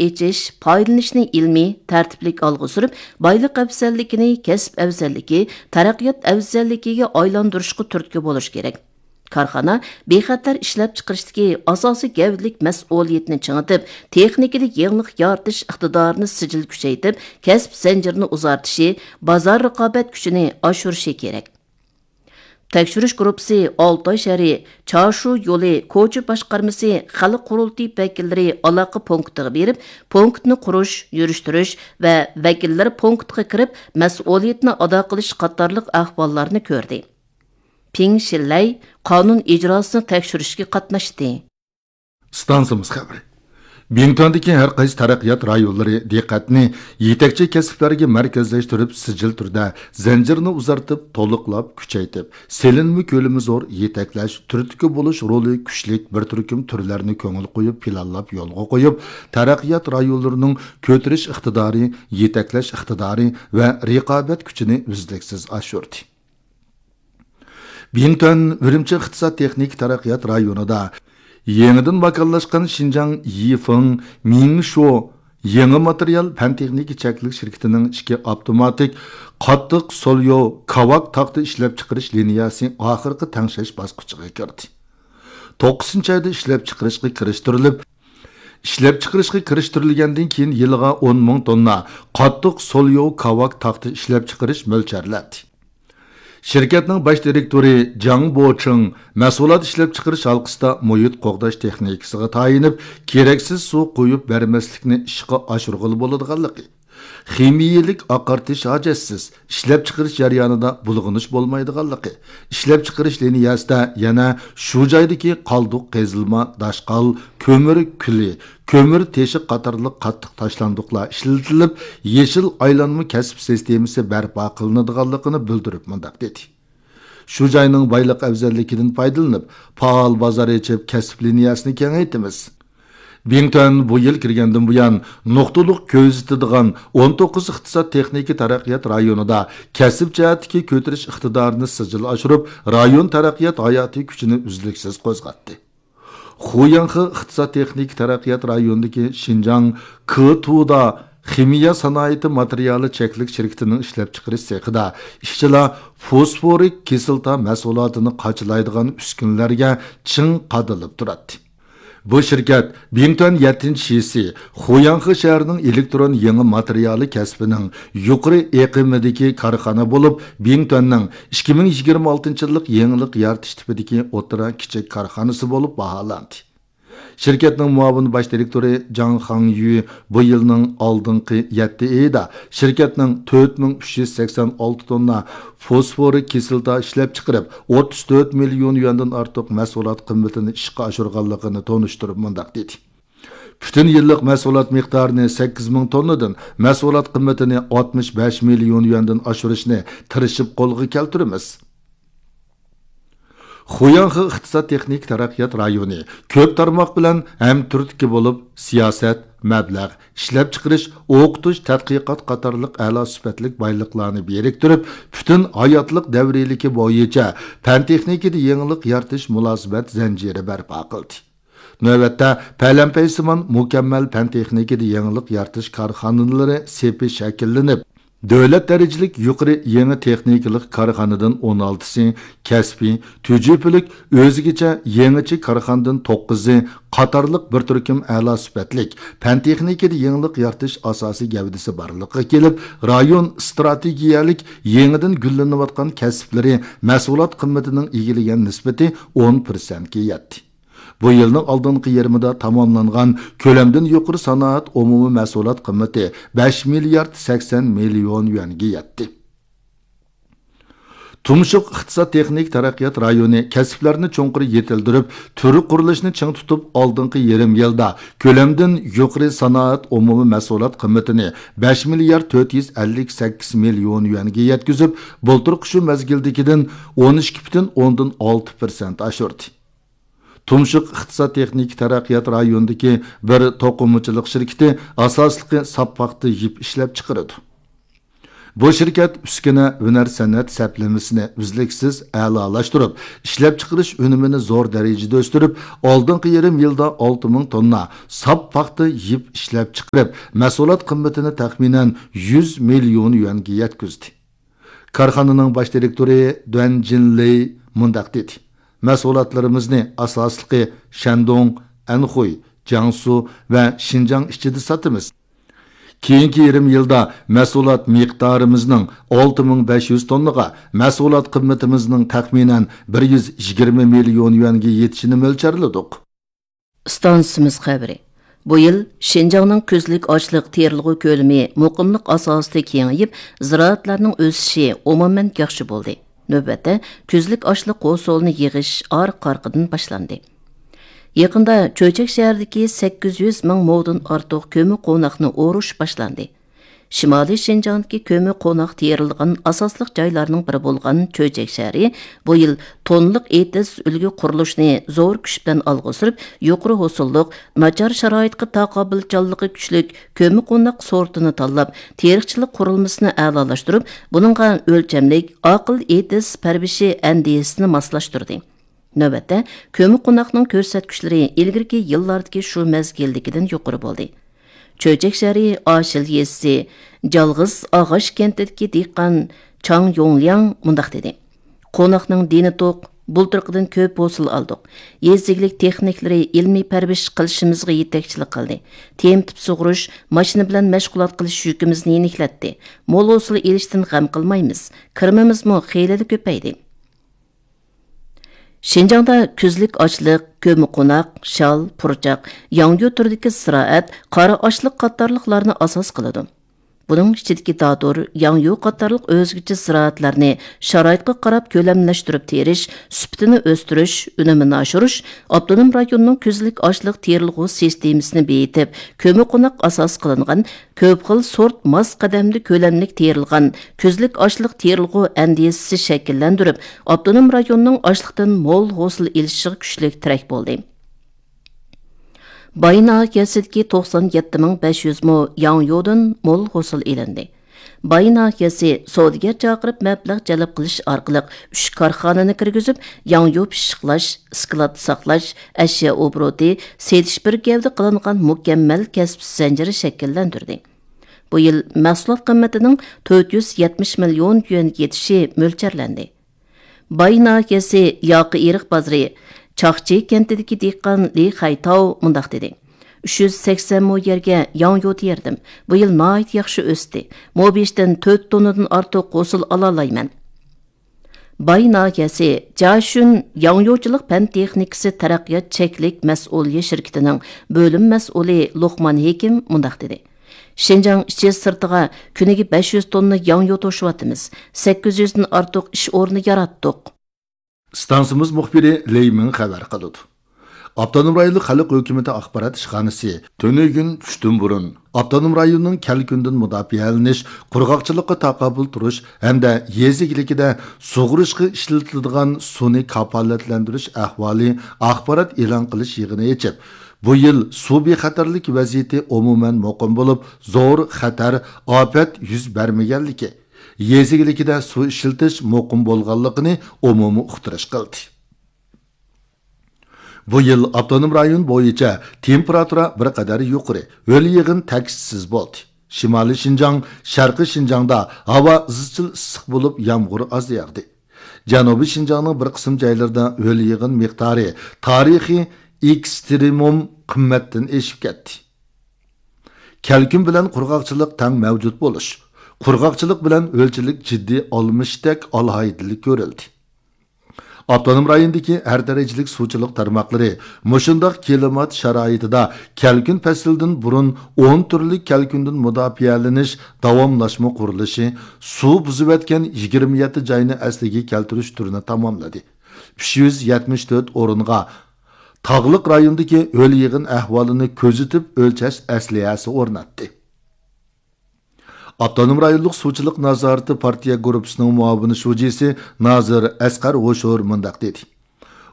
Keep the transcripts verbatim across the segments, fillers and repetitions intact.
ئېچىش، پايدىلىنىشنى ئىلمىي، تەرتىپلىك ئالغا سۈرۈپ، بايلىق ئەۋزەللىكىنى كەسىپ ئەۋزەللىكى، تەرەققىيات ئەۋزەللىكىگە ئايلاندۇرۇشقا تۈرتكە بولۇش كېرەك. كارخانا بىخەتەر ئىشلەپچىقىرىشتىكى ئاساسىي گەۋدىلىك مەسئۇلىيىتىنى چىڭىتىپ، تېخنىكىدا يېڭىلىق يارىتىش ئىقتىدارىنى سىجىل كۈچەيتىپ، كەسىپ زەنجىرىنى ئۇزارتىشى، بازار رىقابەت كۈچىنى ئاشۇرۇشى كېرەك. تەكشۈرۈش گۇرۇپپىسى ئالتاي شەھىرى، چارشۇ يولى كوچا باشقارمىسى خەلق قۇرۇلتىيى ۋەكىللىرى ئالاقە پونكىتىغا بېرىپ، پونكىتنى قۇرۇش، يۈرۈشتۈرۈش ۋە ۋەكىللەر پونكىتىغا كىرىپ، مەسئۇلىيىتىنى ئادا قىلىش قاتارلىق ئەھۋاللارنى كۆردى. پىڭ شىلەي قانۇن ئىجراسىنى تەكشۈرۈشكە قاتناشتى. ئىستانسىمىز خەۋىرى. بىڭتۈەندىكى ھەر قايسى تەرەققىيات رايونلىرى دىققەتنى يېتەكچى كەسىپلەرگە مەركەزلەشتۈرۈپ، سىجىل تۈردە زەنجىرنى ئۇزارتىپ، تولۇقلاپ، كۈچەيتىپ، سېلىنما كۆلىمى زور، يېتەكلەش، تۈرتكە بولۇش رولى كۈچلۈك بىر تۈركۈم تۈرلەرنى كۆڭۈل قويۇپ، پىلانلاپ، يولغا قويۇپ، تەرەققىيات رايونلىرىنىڭ كۆتۈرۈش ئىقتىدارى، يېتەكلەش ئىقتىدارى ۋە رىقابەت كۈچىنى ئۈزلۈكسىز ئاشۇردى. بىڭتۈەن ئۈرۈمچى ئىقتىساد تېخنىكا تەرەققىيات رايونىدا يېڭىدىن ماكانلاشقان شىنجاڭ يىفېڭ مىڭشۇ يېڭى ماتېرىيال پەن تېخنىكا چەكلىك شىركىتىنىڭ ئىككى ئاپتوماتىك قاتتىق سوليو كاۋاك تاختا ئىشلەپچىقىرىش لىنىيەسى ئاخىرقى تەڭشەش باسقۇچىغا كىردى. توققۇزىنچى ئايدا ئىشلەپچىقىرىشقا كىرىشتۈرۈلۈپ، ئىشلەپچىقىرىشقا كىرىشتۈرۈلگەندىن كېيىن يىلىغا ئون مىڭ توننا قاتتىق سوليو كاۋاك تاختا ئىشلەپچىقىرىش مۆلچەرلەندى. شىركەتنىڭ باش دىرېكتورى جاڭ بوچىڭ مەھسۇلات ئىشلەپچىقىرىش ھالقىسىدا مۇھىت قوغداش تېخنىكىسىغا تايىنىپ، كېرەكسىز سۇ قۇيۇپ بەرمەسلىكنى ئىشقا ئاشۇرغىلى بولىدىغانلىقى، خىمىيەلىك ئاقارتىش ھاجەتسىز، ئىشلەپچىقىرىش جەريانىدا بۇلغىنىش بولمايدىغانلىقى، ئىشلەپچىقىرىش لىنىيەسىدە يەنە شۇ جايدىكى قالدۇق قېزىلما، داشقال، كۆمۈر كۈلى، كۆمۈر تېشى قاتارلىق قاتتىق تاشلاندۇقلار ئىشلىتىلىپ، يېشىل ئايلانما كەسىپ سىستېمىسى بەرپا قىلىنىدىغانلىقىنى بىلدۈرۈپ مۇنداق دېدى: شۇ جاينىڭ بايلىق ئەۋزەللىكىدىن پايدىلىنىپ، پائال بازار ئېچىپ، كەسىپ لىنىيەسىنى كېڭەيتىمىز. بىڭتۈەن بۇ يىل كىرگەندىن بۇيان، نۇقتىلىق كۆزىتىدىغان ئون توققۇز ئىقتىساد تېخنىكا تەرەققىيات رايونىدا كەسىپ جەھەتتىكى كۆتۈرۈش ئىقتىدارىنى سىجىل ئاشۇرۇپ، رايون تەرەققىيات ھاياتىي كۈچىنى ئۈزلۈكسىز قوزغاتتى. خۇياڭخې ئىقتىساد تېخنىكا تەرەققىيات رايونىدىكى شىنجاڭ كېتۇدا خىمىيە سانائىتى ماتېرىيالى چەكلىك شىركىتىنىڭ ئىشلەپچىقىرىش سېخىدا ئىشچىلار فوسفورىك كىسلاتا مەھسۇلاتىنى قاچىلايدىغان ئۈسكۈنىلەرگە چىڭ قادىلىپ تۇراتتى. بۇ شىركەت بىڭتۈەن يەتتىنچى شىسى خۇياڭخې شەھىرىنىڭ ئېلېكترون يېڭى ماتېرىيالى كەسپىنىڭ يۇقىرى ئېقىمىدىكى كارخانا بولۇپ، بىڭتۈەننىڭ ئىككى مىڭ يىگىرمە ئالتىنچى يىللىق يېڭىلىق يارىتىش تىپىدىكى ئوتتۇرا كىچىك كارخانىسى بولۇپ باھالاندى. شىركەتنىڭ مۇئاۋىن باش دىرېكتورى جاڭ خاڭيۈ بۇ يىلنىڭ ئالدىنقى يەتتە ئېيىدا شىركەتنىڭ تۆت مىڭ ئۈچ يۈز سەكسەن ئالتە توننا فوسفورىك كىسلاتا ئىشلەپچىقىرىپ، ئوتتۇز تۆت مىليون يۈەندىن ئارتۇق مەھسۇلات قىممىتىنى ئىشقا ئاشۇرغانلىقىنى تونۇشتۇرۇپ مۇنداق دېدى: پۈتۈن يىللىق مەھسۇلات مىقدارىنى سەككىز مىڭ توننىدىن، مەھسۇلات قىممىتىنى ئاتمىش بەش مىليون يۈەندىن ئاشۇرۇشنى تىرىشىپ قولغا كەلتۈرىمىز. خۇياڭخې ئىقتىساد تېخنىكا تەرەققىيات رايونى كۆپ تارماق بىلەن ھەمتۈرتكە بولۇپ، سىياسەت، مەبلەغ، ئىشلەپچىقىرىش، ئوقۇتۇش، تەتقىقات قاتارلىق ئەلا سۈپەتلىك بايلىقلارنى بىرىكتۈرۈپ، پۈتۈن ھاياتلىق دەۋرىيلىكى بويىچە پەن تېخنىكىدا يېڭىلىق يارىتىش مۇلازىمەت زەنجىرى بەرپا قىلدى. نۆۋەتتە پەلەمپەيسىمان مۇكەممەل پەن تېخنىكىدا يېڭىلىق يارىتىش كارخانىلىرى سېپى شەكىللىنىپ، دۆلەت دەرىجىلىك يۇقىرى يېڭى تېخنىكىلىق كارخانىدىن ئون ئالتىسى، كەسپىي، تۈجۈپىلىك، ئۆزگىچە، يېڭىچە كارخانىدىن توققۇزى قاتارلىق بىر تۈركۈم ئەلا سۈپەتلىك پەن تېخنىكىدا يېڭىلىق يارىتىش ئاساسىي گەۋدىسى بارلىققا كېلىپ، رايون ئىستراتېگىيەلىك يېڭىدىن گۈللىنىۋاتقان كەسىپلىرى مەھسۇلات قىممىتىنىڭ ئىگىلىگەن نىسبىتى ئون پىرسەنتكە يەتتى. بۇ يىلنىڭ ئالدىنقى يېرىمىدا تاماملانغان كۆلەمدىن يۇقىرى سانائەت ئومۇمىي مەھسۇلات قىممىتى بەش مىليارد سەكسەن مىليون يۈەنگە يەتتى. تۇمشۇق ئىقتىساد تېخنىك تەرەققىيات رايونى كەسىپلەرنى چوڭقۇر يېتىلدۈرۈپ، تۈر قۇرۇلۇشنى چىڭ تۇتۇپ، ئالدىنقى يېرىم يىلدا كۆلەمدىن يۇقىرى سانائەت ئومۇمىي مەھسۇلات قىممىتىنى بەش مىليارد تۆت يۈز ئەللىك سەككىز مىليون يۈەنگە يەتكۈزۈپ، بۇلتۇرقى شۇ مەزگىلدىكىدىن ئون ئىككى پۈتۈن ئوندىن ئالتە پىرسەنت ئاشۇردى. تۇمشۇق ئىقتىساد تېخنىكا تەرەققىيات رايونىدىكى بىر توقۇمىچىلىق شىركىتى ئاساسلىقى ساپ پاختا يىپ ئىشلەپچىقىرىدۇ. بۇ شىركەت ئۈسكۈنە، ھۈنەر، سەنئەت سەپلىمىسىنى ئۈزلۈكسىز ئەلالاشتۇرۇپ، ئىشلەپچىقىرىش ئۈنۈمىنى زور دەرىجىدە ئۆستۈرۈپ، ئالدىنقى يېرىم يىلدا ئالتە مىڭ توننا ساپ پاختا يىپ ئىشلەپچىقىرىپ، مەھسۇلات قىممىتىنى تەخمىنەن يۈز مىليون يۈەنگە يەتكۈزدى. كارخانىنىڭ باش دىرېكتورى دۇەن جىنلېي مۇنداق دېدى: مەھسۇلاتلىرىمىزنى ئاساسلىقى شەندۇڭ، ئەنخۇي، جياڭسۇ ۋە شىنجاڭ ئىچىدە ساتىمىز. كېيىنكى يېرىم يىلدا مەھسۇلات مىقدارىمىزنىڭ ئالتە مىڭ بەش يۈز توننىغا، مەھسۇلات قىممىتىمىزنىڭ تەخمىنەن بىر يۈز يىگىرمە مىليون يۈەنگە يېتىشىنى مۆلچەرلىدۇق. ئىستانسىمىز خەۋىرى. بۇ يىل شىنجاڭنىڭ كۈزلۈك ئاشلىق تېرىلغۇ كۆلىمى مۇقىملىق ئاساسىدا كېڭىيىپ، زىرائەتلەرنىڭ ئۆسۈشى ئومۇمەن ياخشى بولدى. نۆۋەتتە، كۈزلۈك ئاشلىق ھوسۇلىنى يىغىش ئارقا-ئارقىدىن باشلاندى. يېقىندا چۆچەك شەھىرىدىكى سەككىز يۈز مىڭ مودىن ئارتۇق كۆممىقوناقنى ئورۇش باشلاندى. شىمالىي شىنجاڭدىكى كۆممىقوناق تېرىلىدىغان ئاساسلىق جايلارنىڭ بىرى بولغان چۆچەك شەھىرى بۇ يىل توننىلىق ئېتىز ئۈلگە قۇرۇلۇشىنى زور كۈچ بىلەن ئالغا سۈرۈپ، يۇقىرى ھوسۇللۇق، ناچار شارائىتقا تاقابىلچانلىقى كۈچلۈك كۆممىقوناق سورتىنى تاللاپ، تېرىقچىلىق قۇرۇلمىسىنى ئەلالاشتۇرۇپ، بۇنىڭغا ئۆلچەملىك، ئاقىل ئېتىز پەرۋىشى ئەندىزىسىنى ماسلاشتۇردى. نۆۋەتتە، كۆممىقوناقنىڭ كۆرسەتكۈچلىرى ئىلگىرىكى يىللاردىكى شۇ مەزگىلدىكىدىن يۇقىرى بولدى. چۆچەك شەھىرى ئاشىل يېزىسى جالغىز ئاغاش كەنتىدىكى دېھقان چاڭ يوڭلياڭ مۇنداق دېدى: قوناقنىڭ دېنى توق، بۇلتۇرقىدىن كۆپ ھوسۇل ئالدۇق. يېزا ئىگىلىك تېخنىكلىرى ئىلمىي پەرۋىش قىلىشىمىزغا يېتەكچىلىك قىلدى. تېمىتىپ سۇغۇرۇش، ماشىنا بىلەن مەشغۇلات قىلىش يۈكىمىزنى يېنىكلەتتى. مول ھوسۇل ئېلىشتىن غەم قىلمايمىز. كىرىمىمىزمۇ خېلىلا كۆپەيدى. شىنجاڭدا كۈزلۈك ئاشلىق، كۆممىقوناق، شال، پۇرچاق، ياڭيۇ تۈرىدىكى زىرائەت، قارا ئاشلىق قاتارلىقلارنى ئاساس قىلىدۇ. بۇنىڭ ئىچىدىكى دادۇر، ياڭيۇ قاتارلىق ئۆزگىچە زىرائەتلەرنى شارائىتقا قاراپ كۆلەملەشتۈرۈپ تېرىش، سۈپىتىنى ئۆستۈرۈش، ئۈنۈمىنى ئاشۇرۇش ئاپتونوم رايوننىڭ كۈزلۈك ئاشلىق تېرىلغۇ سىستېمىسىنى بېيىتىپ، كۆممىقوناق ئاساس قىلىنغان كۆپ خىل سورت ماس قەدەمدە كۆلەملىك تېرىلغان كۈزلۈك ئاشلىق تېرىلغۇ ئەندىزىسى شەكىللەندۈرۈپ، ئاپتونوم رايوننىڭ ئاشلىقتىن مول ھوسۇل ئېلىشىغا كۈچلۈك تىرەك بولدى. باي ناھىيەسىدىكى توقسان يەتتە مىڭ بەش يۈز مو ياڭيۇدىن مول ھوسۇل ئېلىندى. باي ناھىيەسى سودىگەر چاقىرىپ مەبلەغ جەلپ قىلىش ئارقىلىق ئۈچ كارخانىنى كىرگۈزۈپ، ياڭيۇ پىششىقلاش، ئىسكىلات ساقلاش، ئەشيا ئوبوروتى، سېتىش بىر گەۋدە قىلىنغان مۇكەممەل كەسىپ زەنجىرى شەكىللەندۈردى. بۇ يىل مەھسۇلات قىممىتىنىڭ تۆت يۈز يەتمىش مىليون يۈەنگە يېتىشى مۆلچەرلەندى. باي ناھىيەسى ياقا ئېرىق بازىرى چاقچى كەنتىدىكى دېھقان لى خەيتاۋ مۇنداق دېدى: ئۈچ يۈز سەكسەن مو يەرگە ياڭيۇ تېرىدىم. بۇ يىل ناھايىتى ياخشى ئۆستى. مو بېشىدىن تۆت توننىدىن ئارتۇق ھوسۇل ئالالايمەن. باي ناھىيەسى جاشۈن ياڭيۇچىلىق پەن تېخنىكىسى تەرەققىيات چەكلىك مەسئۇلىيەت شىركىتىنىڭ بۆلۈم مەسئۇلى لوقمان ھېكىم مۇنداق دېدى: شىنجاڭ ئىچى سىرتىغا كۈنىگە بەش يۈز توننا ياڭيۇ توشۇۋاتىمىز. سەككىز يۈزدىن ئارتۇق ئىش ئورنى ياراتتۇق. ئىستانسىمىز مۇخبىرى لېي مىڭ خەۋەر قىلىدۇ. ئاپتونوم رايونلۇق خەلق ھۆكۈمىتى ئاخبارات ئىشخانىسى تۈنۈگۈن چۈشتىن بۇرۇن ئاپتونوم رايوننىڭ كەلكۈندىن مۇداپىئەلىنىش، قۇرغاقچىلىققا تاقابىل تۇرۇش ھەمدە يېزا ئىگىلىكىدە سۇغىرىشقا ئىشلىتىلىدىغان سۇنى كاپالەتلەندۈرۈش ئەھۋالى ئاخبارات ئېلان قىلىش يىغىنى ئېچىپ، بۇ يىل سۇ بىخەتەرلىك ۋەزىيىتى ئومۇمەن مۇقىم بولۇپ، زور خەتەر، ئاپەت يۈز بەرمىگەنلىكى، يېزا ئىگىلىكىدە سۇ ئىشلىتىش مۇقىم بولغانلىقىنى ئومۇمىي ئۇقتۇرۇش قىلدى. بۇ يىل ئاپتونوم رايون بويىچە تېمپېراتۇرا بىر قەدەر يۇقىرى، ھۆل يېغىن تەكشىسىز بولدى. شىمالىي شىنجاڭ، شەرقىي شىنجاڭدا ھاۋا ئىزچىل ئىسسىق بولۇپ، يامغۇر ئاز ياغدى. جەنۇبىي شىنجاڭنىڭ بىر قىسىم جايلىرىدا ھۆل يېغىن مىقدارى تارىخىي ئېكسترېمۇم قىممەتتىن ئېشىپ كەتتى. كەلكۈن بىلەن قۇرغاقچىلىق تەڭ مەۋجۇت بولۇش، قۇرغاقچىلىق بىلەن ھۆلچىلىك جىددىي ئالمىشىشتەك ئالاھىدىلىك كۆرۈلدى. ئاپتونوم رايوندىكى ھەر دەرىجىلىك سۇچىلىق تارماقلىرى مۇشۇنداق كىلىمات شارائىتىدا كەلكۈن پەسلىدىن بۇرۇن ئون تۈرلۈك كەلكۈندىن مۇداپىئەلىنىش داۋاملاشما قۇرۇلۇشى، سۇ بۇزۇۋەتكەن يىگىرمە يەتتە جاينى ئەسلىگە كەلتۈرۈش تۈرىنى تاماملىدى. ئۈچ يۈز يەتمىش تۆت ئورۇنغا تاغلىق رايوندىكى ھۆل يېغىن ئەھۋالىنى كۆزىتىپ ئۆلچەش ئەسلىھەسى ئورناتتى. ئاپتونوم رايونلۇق سۇچىلىق نازارىتى پارتىيە گۇرۇپپىسىنىڭ مۇئاۋىن شۇجىسى نازىر ئەسقەر ھوشۇر مۇنداق دېدى: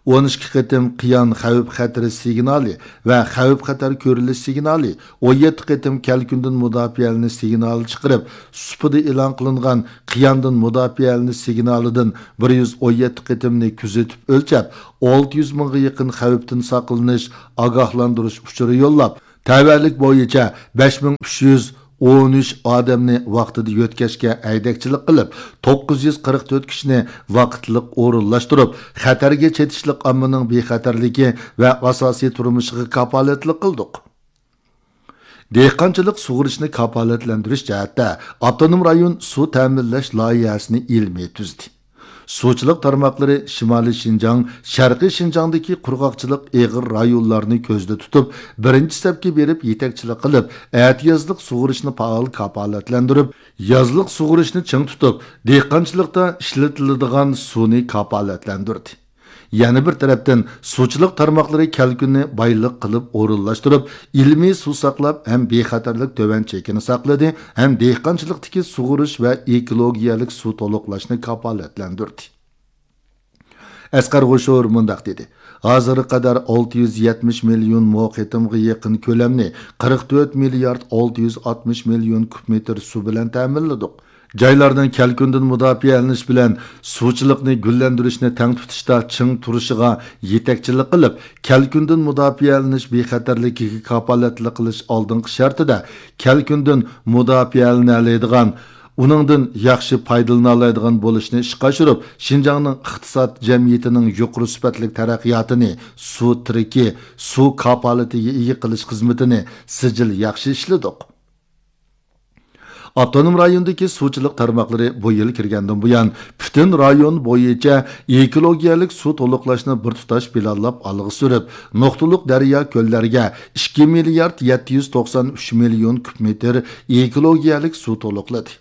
ئون ئىككى قېتىم قىيان خەۋپ خەتىرى سىگنالى ۋە خەۋپ خەتەر كۆرۈلۈش سىگنالى، ئون يەتتە قېتىم كەلكۈندىن مۇداپىئەلىنىش سىگنالى چىقىرىپ، سۇپىدا ئېلان قىلىنغان قىياندىن مۇداپىئەلىنىش سىگنالىدىن بىر يۈز ئون يەتتە قېتىمنى كۆزىتىپ ئۆلچەپ، ئالتە يۈز مىڭغا يېقىن خەۋپتىن ساقلىنىش ئاگاھلاندۇرۇش ئۇچۇرى يوللاپ، تەۋەلىك بويىچە بەش مىڭ ئۈچ يۈز ئون ئۈچ ئادەمنى ۋاقتىدا يۆتكەشكە ھەيدەكچىلىك قىلىپ، توققۇز يۈز قىرىق تۆت كىشىنى ۋاقىتلىق ئورۇنلاشتۇرۇپ، خەتەرگە چېتىشلىق ئاممىنىڭ بىخەتەرلىكى ۋە ئاساسىي تۇرمۇشىغا كاپالەتلىك قىلدۇق. دېھقانچىلىق سۇغىرىشنى كاپالەتلەندۈرۈش جەھەتتە ئاپتونوم رايون سۇ تەمىنلەش لايىھەسىنى ئىلمىي تۈزدى. سۇچىلىق تارماقلىرى شىمالىي شىنجاڭ، شەرقىي شىنجاڭدىكى قۇرغاقچىلىق ئېغىر رايونلارنى كۆزدە تۇتۇپ، بىرىنچى سەپكە بېرىپ يېتەكچىلىك قىلىپ، ئەتىيازلىق سۇغىرىشنى پائال كاپالەتلەندۈرۈپ، يازلىق سۇغىرىشنى چىڭ تۇتۇپ، دېھقانچىلىقتا ئىشلىتىلىدىغان سۇنى كاپالەتلەندۈردى. يەنە بىر تەرەپتىن، سۇچىلىق تارماقلىرى كەلكۈننى بايلىق قىلىپ ئورۇنلاشتۇرۇپ، ئىلمىي سۇ ساقلاپ ھەم بىخەتەرلىك تۆۋەن چېكىنى ساقلىدى، ھەم دېھقانچىلىقتىكى سۇغۇرۇش ۋە ئېكولوگىيەلىك سۇ تولۇقلاشنى كاپالەتلەندۈردى. ئەسقەر غوشۇر مۇنداق دېدى: ھازىرغا قەدەر ئالتە يۈز يەتمىش مىليون مو قېتىمغا يېقىن كۆلەمنى قىرىق تۆت مىليارد ئالتە يۈز ئاتمىش مىليون كۇب مېتىر سۇ بىلەن تەمىنلىدۇق. جايلارنىڭ كەلكۈندىن مۇداپىئەلىنىش بىلەن سۇچىلىقنى گۈللەندۈرۈشنى تەڭ تۇتۇشتا چىڭ تۇرۇشىغا يېتەكچىلىك قىلىپ، كەلكۈندىن مۇداپىئەلىنىش بىخەتەرلىكىگە كاپالەتلىك قىلىش ئالدىنقى شەرتىدە، كەلكۈندىن مۇداپىئەلىنەلەيدىغان، ئۇنىڭدىن ياخشى پايدىلىنالايدىغان بولۇشنى ئىشقا ئاشۇرۇپ، شىنجاڭنىڭ ئىقتىساد جەمئىيىتىنىڭ يۇقىرى سۈپەتلىك تەرەققىياتىنى، سۇ تىرىكى، سۇ كاپالىتىگە ئىگە قىلىش خىزمىتىنى سىجىل ياخشى ئىشلىدۇق. ئاپتونوم رايوندىكى سۇچىلىق تارماقلىرى بۇ يىل كىرگەندىن بۇيان، پۈتۈن رايون بويىچە ئېكولوگىيەلىك سۇ تولۇقلاشنى بىر تۇتاش پىلانلاپ ئالغا سۈرۈپ، نۇقتىلىق دەريا كۆللەرگە ئىككى مىليارد يەتتە يۈز توقسان ئۈچ مىليون كۇب مېتىر ئېكولوگىيەلىك سۇ تولۇقلىدى.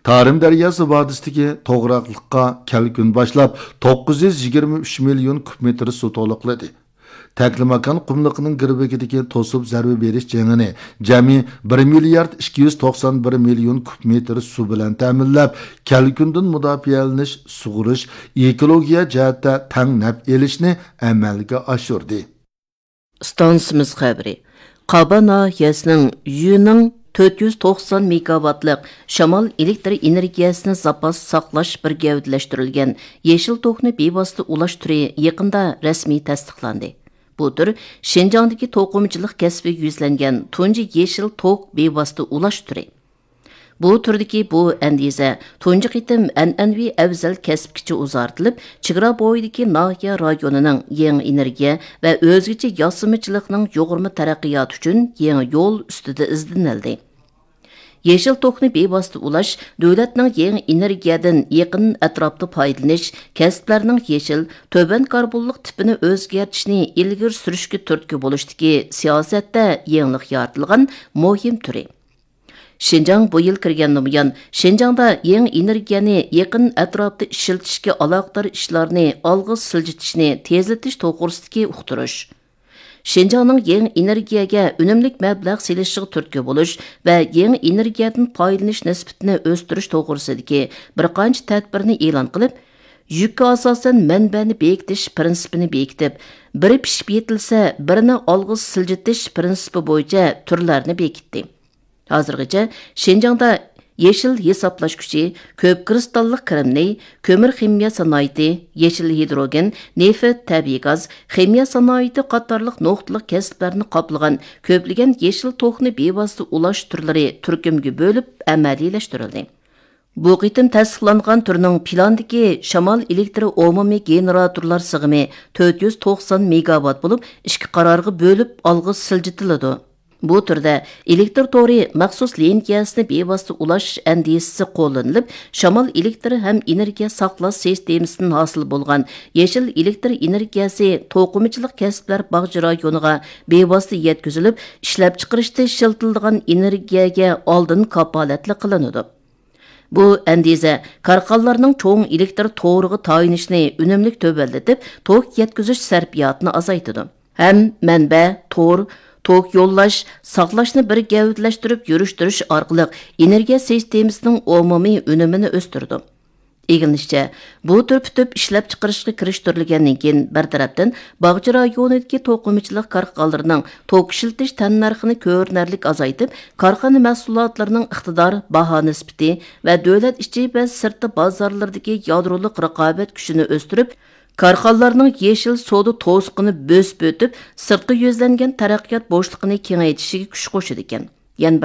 تارىم دەرياسى ۋادىسىدىكى توغراقلىققا كەلكۈن باشلاپ، توققۇز يۈز يىگىرمە ئۈچ مىليون كۇب مېتىر سۇ تولۇقلىدى. تەكلىماكان قۇملۇقىنىڭ گىرۋىكىدىكى توسۇپ زەربە بېرىش جېڭىنى جەمئىي بىر مىليارد ئىككى يۈز توقسان بىر مىليون كۇب مېتىر سۇ بىلەن تەمىنلەپ، كەلكۈندىن مۇداپىئەلىنىش، سۇغۇرۇش، ئېكولوگىيە جەھەتتە تەڭ نەپ ئېلىشنى ئەمەلگە ئاشۇردى. ئىستانسىمىز خەۋىرى. قابا ناھىيەسىنىڭ يۈنىڭ تۆت يۈز توقسان مېگاۋاتلىق شامال ئېلېكتر ئېنېرگىيەسىنى زاپاس ساقلاش بىر گەۋدىلەشتۈرۈلگەن يېشىل توكنى بىۋاسىتە ئۇلاش تۈرى يېقىندا رەسمىي تەستىقلاندى. بۇ تۈر شىنجاڭدىكى توقۇمىچىلىق كەسپىگە يۈزلەنگەن تۇنجى يېشىل توك بىۋاسىتە ئۇلاش تۈرى. بۇ تۈردىكى بۇ ئەندىزە تۇنجى قېتىم ئەنئەنىۋى ئەۋزەل كەسىپكىچە ئۇزارتىلىپ، چېگرا بويىدىكى ناھىيە رايونىنىڭ يېڭى ئېنېرگىيە ۋە ئۆزگىچە ياسىمىچىلىقنىڭ يۇغۇرما تەرەققىياتى ئۈچۈن يېڭى يول ئۈستىدە ئىزدىنىلدى. يېشىل توكنى بىۋاسىتە ئۇلاش دۆلەتنىڭ يېڭى ئېنېرگىيەدىن يېقىن ئەتراپتا پايدىلىنىش، كەسىپلەرنىڭ يېشىل، تۆۋەن كاربونلۇق تىپىنى ئۆزگەرتىشنى ئىلگىرى سۈرۈشكە تۈرتكە بولۇشتىكى سىياسەتتە يېڭىلىق يارىتىلغان مۇھىم تۈرى. شىنجاڭ بۇ يىل كىرگەندىن بۇيان، شىنجاڭدا يېڭى ئېنېرگىيەنى يېقىن ئەتراپتا ئىشلىتىشكە ئالاقىدار ئىشلارنى ئالغا سىلجىتىشنى تېزلىتىش توغرىسىدىكى ئۇقتۇرۇش، شىنجاڭنىڭ يېڭى ئېنېرگىيەگە ئۈنۈملۈك مەبلەغ سېلىشىغا تۈرتكە بولۇش ۋە يېڭى ئېنېرگىيەدىن پايدىلىنىش نىسبىتىنى ئۆستۈرۈش توغرىسىدىكى بىر قانچە تەدبىرنى ئېلان قىلىپ، يۈككە ئاساسەن مەنبەنى بېكىتىش پىرىنسىپىنى بېكىتىپ، بىرى پىشىپ يېتىلسە، بىرىنى ئالغا سىلجىتىش پىرىنسىپى بويىچە تۈرلەرنى بېكىتتى. ھازىرغىچە شىنجاڭدا يېشىل ھېسابلاش كۈچى، كۆپ كىرىستاللىق كىرىمنى، كۆمۈر خىمىيە سانائىتى، يېشىل ھىدروگېن، نېفىت، تەبىئىي گاز، خىمىيە سانائىتى قاتارلىق نۇقتىلىق كەسىپلەرنى قاپلىغان كۆپلىگەن يېشىل توكنى بىۋاسىتە ئۇلاش تۈرلىرى تۈركۈمگە بۆلۈپ ئەمەلىيلەشتۈرۈلدى. بۇ قېتىم تەستىقلانغان تۈرنىڭ پىلاندىكى شامال ئېلېكتر ئومۇمىي گېنېراتورلار سىغىمى تۆت يۈز توقسان مېگاۋات بولۇپ، ئىككى قارارغا بۆلۈپ ئالغا سىلجىتىلىدۇ. بۇ تۈردە ئېلېكتر تورى مەخسۇس لىنىيەسىنى بىۋاسىتە ئۇلاش ئەندىزىسى قوللىنىلىپ، شامال ئېلېكتر ھەم ئېنېرگىيە ساقلاش سىستېمىسىدىن ھاسىل بولغان يېشىل ئېلېكتر ئېنېرگىيەسى توقۇمىچىلىق كەسىپلەر باغچە رايونىغا بىۋاسىتە يەتكۈزۈلۈپ، ئىشلەپچىقىرىشتا ئىشلىتىلىدىغان ئېنېرگىيەگە ئالدىن كاپالەتلىك قىلىنىدۇ. بۇ ئەندىزە كارخانىلارنىڭ چوڭ ئېلېكتر تورىغا تايىنىشنى ئۈنۈملۈك تۆۋەنلىتىپ، توك يەتكۈزۈش سەرپىياتىنى ئازايتىدۇ. ھەم مەنبە، تور، توك يوللاش، ساقلاشنى بىر گەۋدىلەشتۈرۈپ يۈرۈشتۈرۈش ئارقىلىق ئېنېرگىيە سىستېمىسىنىڭ ئومۇمىي ئۈنۈمىنى ئۆستۈرىدۇ. ئىگىلىنىشىچە، بۇ تۈر پۈتۈپ ئىشلەپچىقىرىشقا كىرىشتۈرۈلگەندىن كېيىن، بىر تەرەپتىن، باغچە رايونىدىكى توقۇمىچىلىق كارخانىلىرىنىڭ توك ئىشلىتىش تەننەرخىنى كۆرۈنەرلىك ئازايتىپ، كارخانا مەھسۇلاتلىرىنىڭ ئىقتىدار، باھا نىسبىتى ۋە دۆلەت ئىچى ۋە سىرتى بازارلىرىدىكى يادرولۇق رىقابەت كۈچىنى ئۆستۈرۈپ، كارخانىلارنىڭ يېشىل سودا توسۇقىنى بۆسۈپ ئۆتۈپ، سىرتقا يۈزلەنگەن تەرەققىيات بوشلۇقىنى كېڭەيتىشىگە كۈچ قوشىدىكەن. يەنە بىر